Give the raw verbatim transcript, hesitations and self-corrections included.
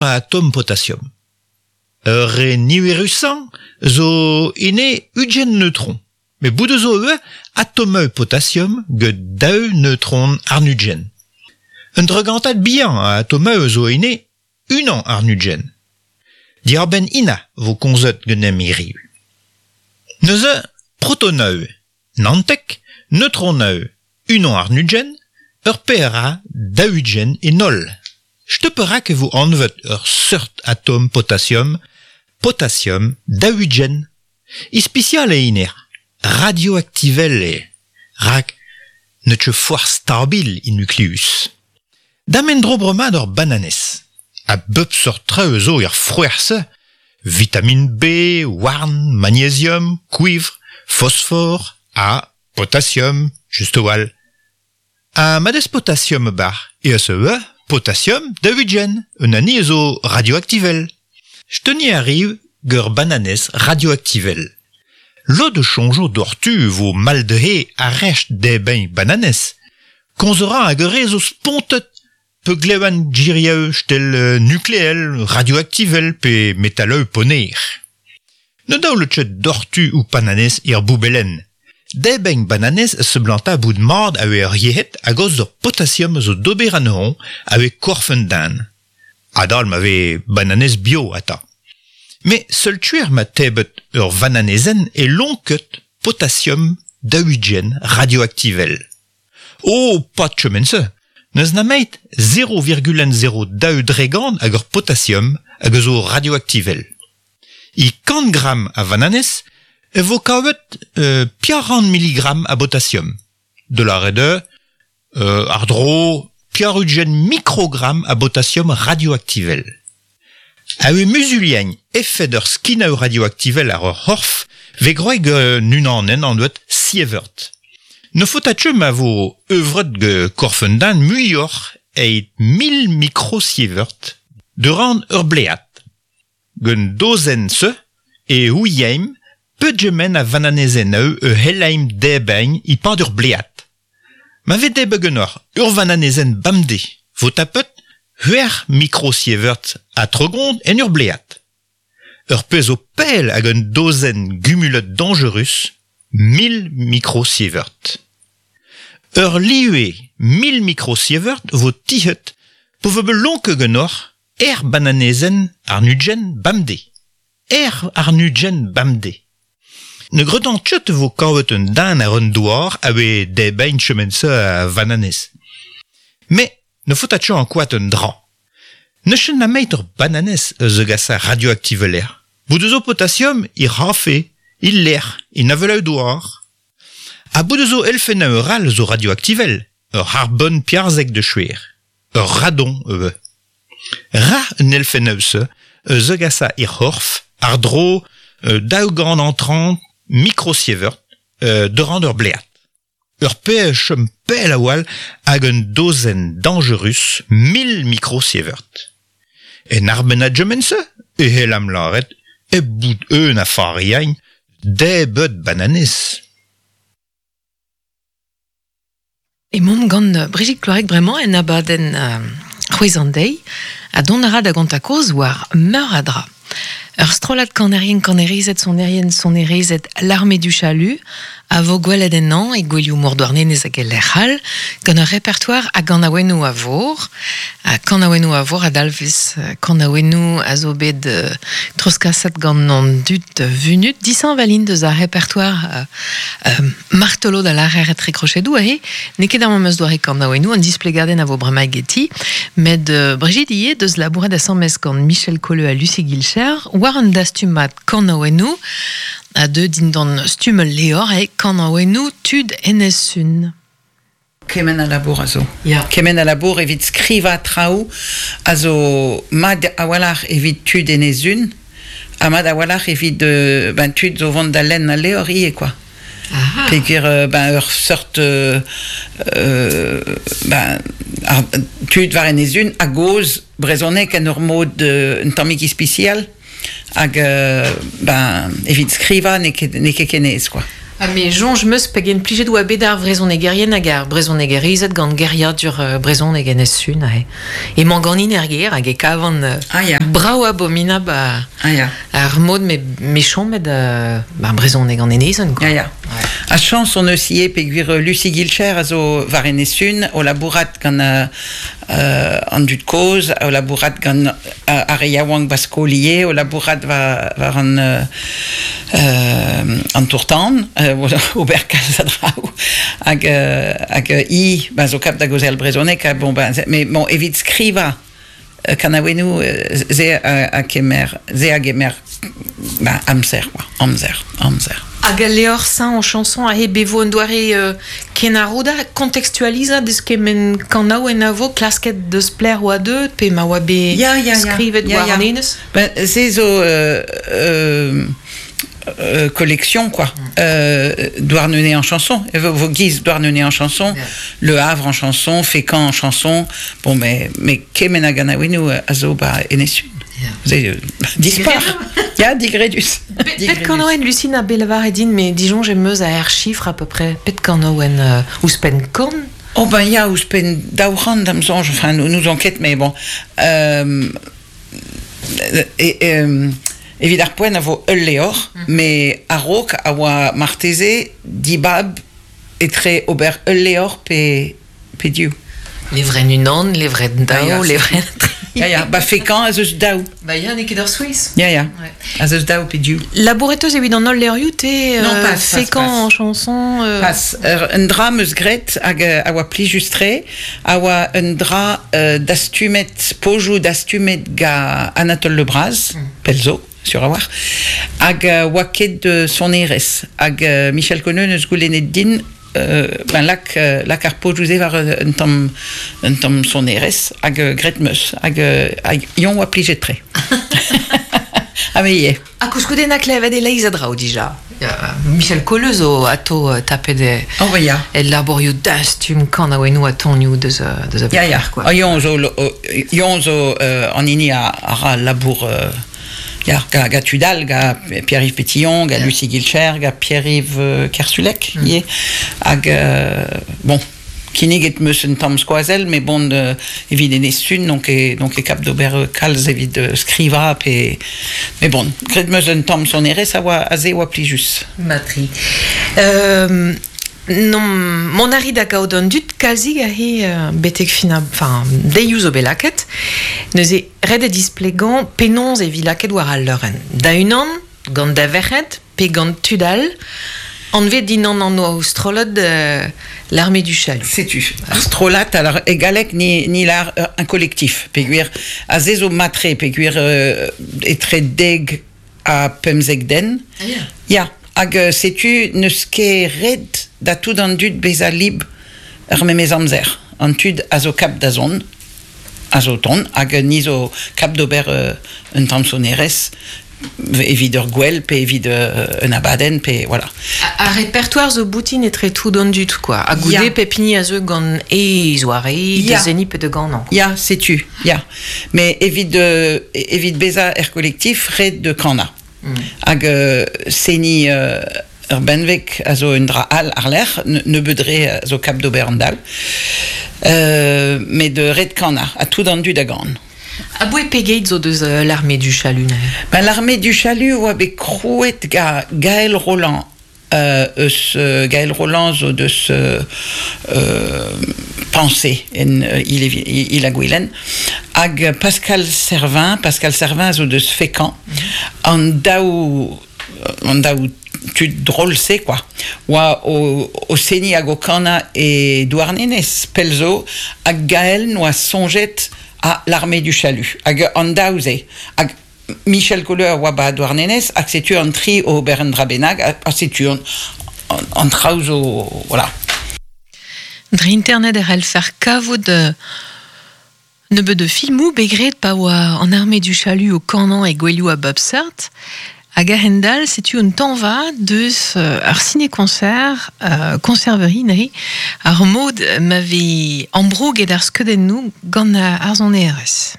a atom potassium. Ur re niverusañ zo ine ugent neutron. Met bout zo ivez atomeu potassium get daou neutron àrn-ugent. Un dregantad bihan a atomeu zo ine unan àrn-ugent. Diàr-benn ina vo komzet ganemp hiriv. Neuze protoneu, naontek, neutroneu, unan àrn-ugent, ur pezh daou-ugent en holl. Setu perak e vo anvet ur seurt atom potassium, potassium daou-ugent. Ispisial eo hennezh, radioaktivel eo, rak n'eo ket forzh stabil e nukleus. Dam en-dro bremañ d'ur bananez. A bep seurt traoù zo er frouezh-se, vitamine B, houarn, magnésium, kouivr, fosfor, ha potassium, just a-walc'h. Ha ma 'dez potassium e-barzh eh eus ivez potassium daou-ugent, un hani zo radioaktivel. Setu ni arriv gant ur bananez radioaktivel. Lod a soñjo doc'htu vo mall dezhe arrest debriñ bananez. Komz a ra hag ur re zo spontet pe glevan gerioù evel nukleel, radioaktivel pe metaloù ponner. Ne daolet ket doc'htu ho pananez er boubelenn. Debriñ bananez a seblanta bout mat evit ar yec'hed a-gaoz d'ur potassium zo d'ober anezhoñ evit korf an den. Adal ma vez bananez bio atav. Met seul tuer ma tebret ur vananezenn e lonket potassium daou-ugent radioaktivel. Oh, pas kement-se. N'eus nemet zero virgule zero daou dregant ag ur potassium hag a zo radioaktivel. E kant gram a vananez e vo kavet euh, pevar miligram a botassium. De lâret eo, euh, àr-dro pevar-ugent mikrogram a botassium radioaktivel. A-benn muzuliañ efed ur skinoù radioaktivel àr ur c'horf vez groet gant unanenn anvet sievert. Ne faota ket ma vo euvret gant korf un den muioc'h evit mil mikrosievert durant ur blead. Gant dozenn-se e ouiemp pegement a vananezennoù e c'hellaimp debriñ e-pad ur blead. Ma vez debret ganeoc'h ur vananezenn bemdez vo tapet c'hwec'h mikrosievert ha tregont en ur blead. Ur pezh zo pell ag un dozenn gumulet dañjerus, mil mikrosievert. Ur live mil mikrosievert vo tizhet pa vo bet lonket ganeoc'h ur bananezenn àrn-ugent bemdez. Ur àrn-ugent bemdez. Ne gredan ket e vo kavet un den àr an douar a oe debriñ kement-se a vananez. Met ne faota ket ankouaat un dra. N'eus ket nemet ur bananez a zegasa radioaktiveler. Bout zo potassium er c'hafe, el lêr, en avaloù-douar. Ha bout zo elfennoù arall zo radioaktivel, ur c'harbon pevarzek da skouer, ur radon ivez. Rac'h an elfennoù-se a zegasa er c'horf àr-dro daou gant hanter mikrosievert euh, durant ur blead. Ur pezh a chom pell a-walc'h ag un dozenn dañjerus mil mikrosievert. En arbenn a gement-se e c'hellamp lâret hep bout aon a fariañ debret bananez. Emaomp gant Brigitte Cloarec bremañ en abadenn euh, C'hwezh an deiz ha dont a ra da gontañ kaoz war meur a dra. Ur strollad kanerien kanerezed sonerien sonerezed l'armée du chalut a vo gwelet ennañ e gouelioù mor Douarnenez hag e lec'h all gant ur repertoire a ganaouennoù a vor. Ha kanaouennoù a vor a dalvez kanaouennoù a zo bet euh, treuzkaset gant an dud vunut. Dishañval int deus ar repertoire euh, euh, martolod a lârer etre krochedoù aze. N'eo ket ar memes doare kanaouennoù, an displegadenn a vo bremañ geti. Met euh, Brigitte ivez deus labouret asambles gant Michel Colleu ha Lucie Guilcher war un dastumad kanaouennoù a deu dindan stumm ul levr e kanaouennoù tud Enez-Sun. Kement a labour a zo. Ya. Kement a labour evit skrivañ traoù a zo mat a-walc'h evit tud Enez-Sun ha mat a-walc'h evit euh, ben, tud zo vont da lenn al levr ivez quoi. Aha. Peogwir euh, ben, ur seurt euh, euh, ben, ar, tud war Enez-Sun a gaoz brezhoneg en ur mod euh, un tammig ispisial hag euh, ben, evit skrivañ n'eo ket, n'eo ket ken aes quoi. Ha me soñj 'm eus pegen plijet oa bet ar vrezhonegerien hag ar brezhonegerezed gant geriadur euh, brezhoneg Enez-Sun aze. Emañ ganin er gêr hag e kavan euh, Ah ya. brav abominab a, Ah ya. ar mod me, me chomet euh, ba brezhoneg an Enezen, quoi. Ya, ya. A chañs hon eus ivez peogwir Lucie Guilcher a zo war Enez-Sun o labourat gant euh, euh, an dud kozh, o labourat gant euh, ar re yaouank ba skol ivez, o labourat war, war an, euh, euh, an tour-tan, euh, ober kalz a draoù, hag, euh, hag euh, i, ba zo kap da gaozeal brezhoneg, ha bon, ben, mais bon, evit skrivañ euh, kanaouennoù, euh, se a, a kemer, se a gemer, ba, amzer, quoi, amzer, amzer. Hag al levr saint en chanson a he bevo un doare euh, kenarouda contextualiza deus kement kanaouenn a vo klasket deus pler oa deut pe ma oa bet Ya, ya, ya. skrivet Ya, war ya. an enez. Ben, se zo euh, euh, euh, collection, quoi. Euh, Douarnenez en chanson. E vo, vo giz Douarnenez en chanson, Ya. Le Havre en chanson, Fécamp en chanson. Bon, mais, mais kement a ganaouennoù a zo ba Enez-Sun. Ya. Se, euh, dispar. Ya, digredus. Pet kanaouenn Lucine a belavar edin, mais disoñj em eus a er chiffre à peu près. Pet kanaouenn euh, ouzhpenn kant. Oh ben ya, ouzhpenn daou c'hant da'm soñj, enfin, nous, nous enquête, mais bon. Euh, et, euh, evit ar poent a vo ul levr, mm. mais a-raok a oa marteze dibab etre ober ul levr pe, pe div. Levrenn unan, levrenn Ah, ya, daou, levrenn tri. Ya, ya, ba Fécamp ez eus daou. Ba ya, n'eo ket ur Suisse. Ya, ya, Ouais. ez eus daou pe div. Labouret eus evit an holl levrioù te Non, euh, pas, pas, Fécamp pas. en chanson. Euh, Pas, ur, un dra 'm eus graet hag euh, a oa plijus-tre, a oa un dra euh, dastumet, pojoù dastumet ga Anatole Le Braz, mm. pell zo, sur a war, hag euh, oa ket de sonerezh, hag euh, Michel Colleu neus goulennet din euh, ben lak, euh, lak ar pojoù-se war un tamm, un tamm sonerezh, hag euh, graet 'm eus, hag, euh, hag eñ oa plijet-tre. Ha me ivez. Ha koulskoude na klevet e-leizh a draoù dija. Ya, Michel Colleu zo ato euh, tapet e, Oh, ba ya. el labourioù dastum kanaouennoù ha tonioù deus, euh, deus a Ya, ya. quoi. Ah, Eñ zo, lo- eñ zo euh, an hini a, a ra labour euh, ya, ga, ga tud all, ga Pierre-Yves Pétillon, ga Lucie Guilcher, ga Pierre-Yves euh, Kersulec, mm. ivez. Hag, euh, bon, kinniget 'm eus un tamm skoazell, mais bon, euh, evit Enez-Sun, donc e, donc e kap d'ober euh, kalz evit euh, skrivañ pe... Mais bon, graet 'm eus un tamm sonerezh a oa aze oa plijus. Matri. Euh, non, mont a ri da gaout an dud kalzig a he euh, betek fin a, enfin, deioù zo bet lakaet. Neuze ret eo displegañ penaos e vi lakaet war al leurenn. Da unan, gant da verc'hed, pe gant tud all, anvet dindan an oa strollad euh, l'armée du chalut. Setu. Ar strollad, alors, e galleg ni, ni lar euh, un collectif, peogwir aze zo matre, peogwir euh, etre deg ha pemzek den. Ah, ya. Ya, hag euh, setu n'eus ket ret da tout an dud bezañ lib ar memes amzer. An tud a zo kap da zont, a zo tont, hag ni zo kap d'ober euh, un tamm sonerezh evit ur gwel, pe evit euh, un abadenn, pe voilà. Ar repertoire zo boutin etre tout an dud, quoi. Ha goude Ya. pep hini a zeu gant e zoare, Ya. de seniñ pe de ganañ. Ya, setu, ya. Mais evit, euh, evit bezañ er collectif, ret de kanañ. Mm. Hag euh, seniñ euh, ur benveg a zo un dra all ar-lerc'h, ne, nebeud re a zo kap d'ober an dal. Euh, met de ret kanañ, ha tout an dud a gan. Aboe pegeit zo deus euh, l'armée du chalut neuze. Ben, l'armée du chalut oa bet krouet ga Gaël Roland, euh, eus euh, Gaël Roland zo deus euh, euh, Pensée en euh, il, il, il a Gwilen hag Pascal Servin Pascal Servin zo deus Fécamp mm -hmm. an daou an daou tud drôle-se quoi oa o, o seniñ hag o kanañ e Douarnenez pell zo hag Gaël noa soñjet à l'armée du chalut hag an daou-se hag Michel Colleu a oa ba Douarnenez hag setu an tri o ober un dra bennak ha, ha setu an, an, an traoù zo voilà. Dre internet e c'hellfer kavout euh, nebeut de filmoù bet graet pa oa an armée du chalut o kanañ e gouelioù a bep seurt. Hag a-hend-all, setu un tañva deus euh, ar ciné-concert, euh, conserverie neuze, ar mod ma vez ambrouget ar skeudennoù gant ar sonerezh.